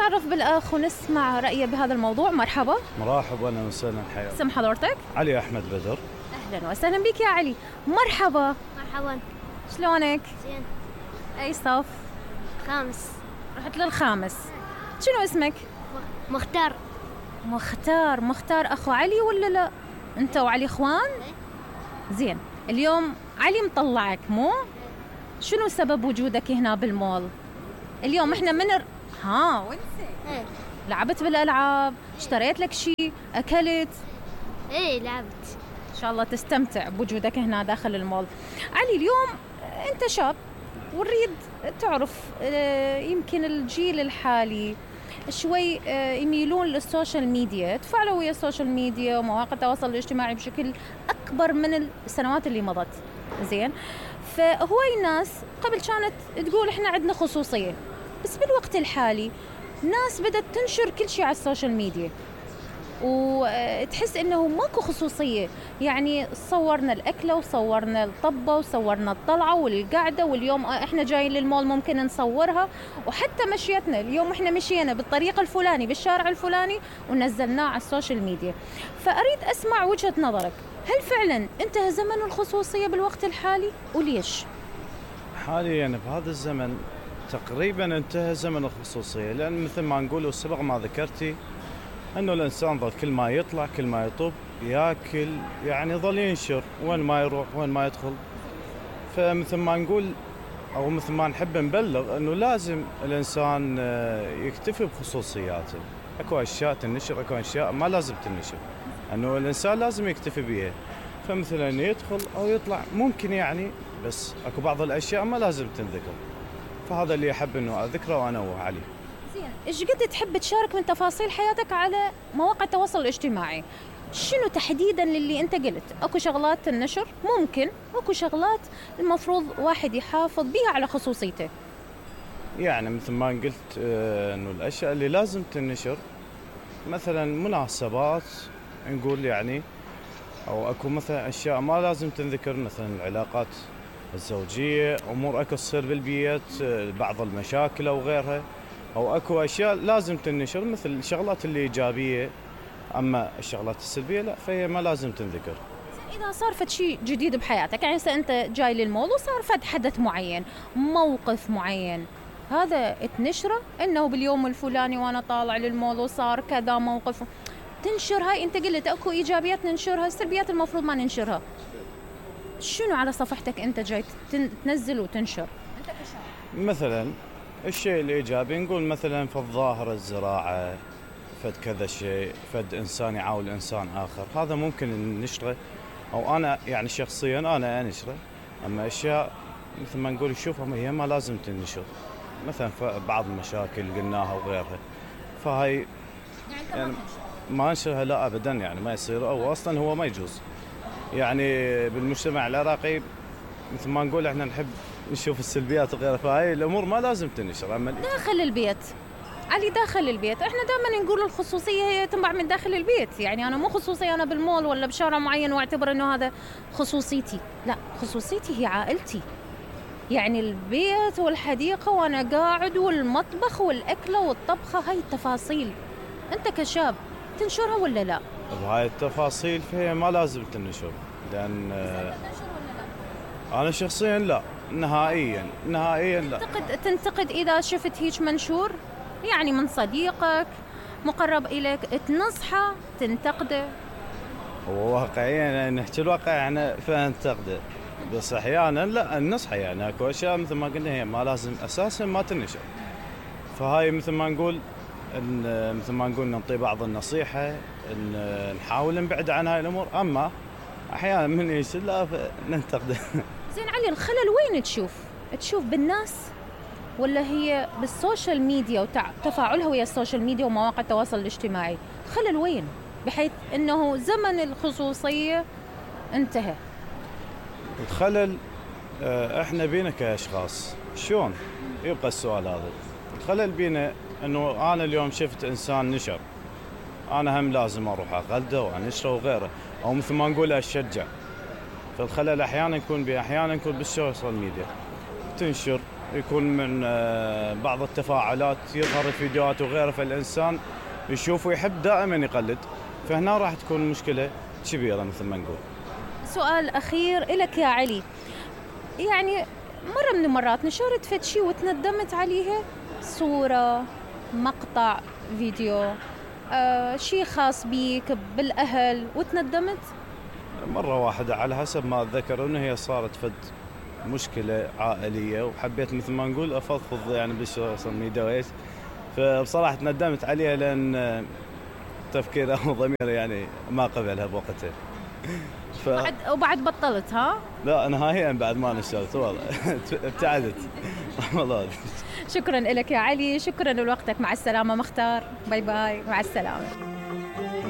نتعرف بالأخ ونسمع رأيه بهذا الموضوع. مرحبا. مرحبا، أهلا وسهلا، حياك. اسم حضرتك؟ علي أحمد بدر. أهلا وسهلا بك يا علي. مرحبا. مرحبا. شلونك؟ زين. أي صف؟ خامس. رحت للخامس. شنو اسمك؟ مختار. مختار أخو علي ولا لا؟ أنت وعلي إخوان؟ زين. اليوم علي مطلعك مو؟ شنو سبب وجودك هنا بالمول؟ اليوم احنا وانت؟ لعبت بالألعاب؟ اشتريت لك شيء؟ أكلت؟ ايه لعبت. إن شاء الله تستمتع بوجودك هنا داخل المول. علي اليوم أنت شاب ونريد تعرف يمكن الجيل الحالي شوي يميلون للسوشيال ميديا، تفاعلوا ويا السوشيال ميديا ومواقع التواصل الاجتماعي بشكل أكبر من السنوات اللي مضت. زين، فهواي الناس قبل كانت تقول احنا عندنا خصوصية، بس بالوقت الحالي ناس بدأت تنشر كل شيء على السوشيال ميديا وتحس انه ماكو خصوصية. يعني صورنا الأكلة وصورنا الطبة وصورنا الطلعة والقعدة، واليوم احنا جايين للمول ممكن نصورها، وحتى مشيتنا اليوم احنا مشينا بالطريقة الفلاني بالشارع الفلاني ونزلناه على السوشيال ميديا. فأريد أسمع وجهة نظرك، هل فعلا انتهى زمن الخصوصية بالوقت الحالي وليش؟ حاليا بهذا الزمن تقريبا انتهى زمن الخصوصية، لأن مثل ما نقول وسبق ما ذكرتي أنه الإنسان ظل كل ما يطلع كل ما يطب ياكل، يعني ظل ينشر وين ما يروح وين ما يدخل. فمثل ما نقول أو مثل ما نحب نبلغ أنه لازم الإنسان يكتفي بخصوصياته. أكو أشياء تنشر، أكو أشياء ما لازم تنشر، أنه الإنسان لازم يكتفي بيها. فمثلا يدخل أو يطلع ممكن يعني، بس أكو بعض الأشياء ما لازم تنذكر. فهذا اللي أحب أنه أذكره وأنوه عليه. زين، إيش قد تحب تشارك من تفاصيل حياتك على مواقع التواصل الاجتماعي؟ شنو تحديداً للي أنت قلت؟ أكو شغلات تنشر ممكن، أكو شغلات المفروض واحد يحافظ بيها على خصوصيته. يعني مثل ما قلت أنه الأشياء اللي لازم تنشر مثلا مناسبات نقول يعني، أو أكو مثلا أشياء ما لازم تنذكر، مثلا العلاقات الزوجية، أمور أكو تصير بالبيت، بعض المشاكل أو غيرها، أو أكو أشياء لازم تنشر مثل الشغلات اللي إيجابية. أما الشغلات السلبية لا، فهي ما لازم تنذكر. إذا صار فد شيء جديد بحياتك، يعني أنت جاي للمول وصار فد حدث معين، موقف معين، هذا تنشره إنه باليوم الفلاني وأنا طالع للمول وصار كذا موقف، تنشر. هاي أنت قلت أكو إيجابيات ننشرها، السلبيات المفروض ما ننشرها. شنو على صفحتك أنت جاي تنزل وتنشر؟ أنت كشاب مثلا الشيء الإيجابي نقول مثلا في الظاهرة الزراعة، فد كذا شيء، فد إنسان يعاون إنسان آخر، هذا ممكن نشره، أو أنا يعني شخصيا أنا أنشره. أما أشياء مثل ما نقول شوفها هي ما لازم تنشر، مثلا بعض المشاكل قلناها وغيرها، فهاي يعني ما نشرها لا أبدا، يعني ما يصير، أو أصلا هو ما يجوز. يعني بالمجتمع العراقي مثل ما نقول احنا نحب نشوف السلبيات وغيرها، فهاي الأمور ما لازم تنشر. أما داخل البيت علي، داخل البيت احنا دائما نقول الخصوصية هي تنبع من داخل البيت. يعني أنا مو خصوصية أنا بالمول ولا بشارع معين واعتبر إنه هذا خصوصيتي، لا، خصوصيتي هي عائلتي، يعني البيت والحديقة وأنا قاعد والمطبخ والأكلة والطبخة، هاي التفاصيل أنت كشاب تنشرها ولا لا؟ بهاي التفاصيل فهي ما لازم تنشر، لأن أنا شخصيا لا، نهائيا لا. تنتقد إذا شفت هيك منشور، يعني من صديقك مقرب إليك، تنصحه تنتقده؟ هو واقعيا نحكي الواقع احنا فننتقده، بس احيانا لا النصحة، يعني اكو اشياء مثل ما قلنا هي ما لازم اساسا ما تنشر. فهاي مثل ما نقول نعطي بعض النصيحة، ان نحاول نبعد عن هاي الامور. اما احيانا من يصير لا ننتقده. زين علي، الخلل وين تشوف بالناس ولا هي بالسوشيال ميديا وتفاعلها ويا السوشيال ميديا ومواقع التواصل الاجتماعي؟ خلل وين بحيث انه زمن الخصوصية انتهى؟ الخلل احنا بينا كاشخاص، شلون يبقى السؤال هذا؟ الخلل بينا انه انا اليوم شفت انسان نشر، انا هم لازم اروح اقلده وانشره وغيره، او مثل ما نقول اشجع. فالخلل احيانا يكون بالسوشيال ميديا، تنشر يكون من بعض التفاعلات يظهر الفيديوهات وغيره، فالإنسان يشوف ويحب دائما يقلد، فهنا راح تكون مشكلة كبيرة مثل ما نقول. سؤال أخير إلك يا علي، يعني مرة من المرات نشرت فد شي وتندمت عليها؟ صورة، مقطع فيديو، شي خاص بيك بالأهل وتندمت؟ مرة واحدة على حسب ما أتذكر، إنه هي صارت فد مشكلة عائلية وحبيت مثل ما نقول أفضفض يعني بالسوشيال ميديا وإيش، فبصراحة تندمت عليها لأن تفكير أو ضمير يعني ما قبلها بوقتها. وبعد بطلت ها؟ لا نهائيا بعد ما نشرت والله ابتعدت والله. شكرا لك يا علي، شكرا لوقتك، مع السلامة مختار، باي باي، مع السلامة.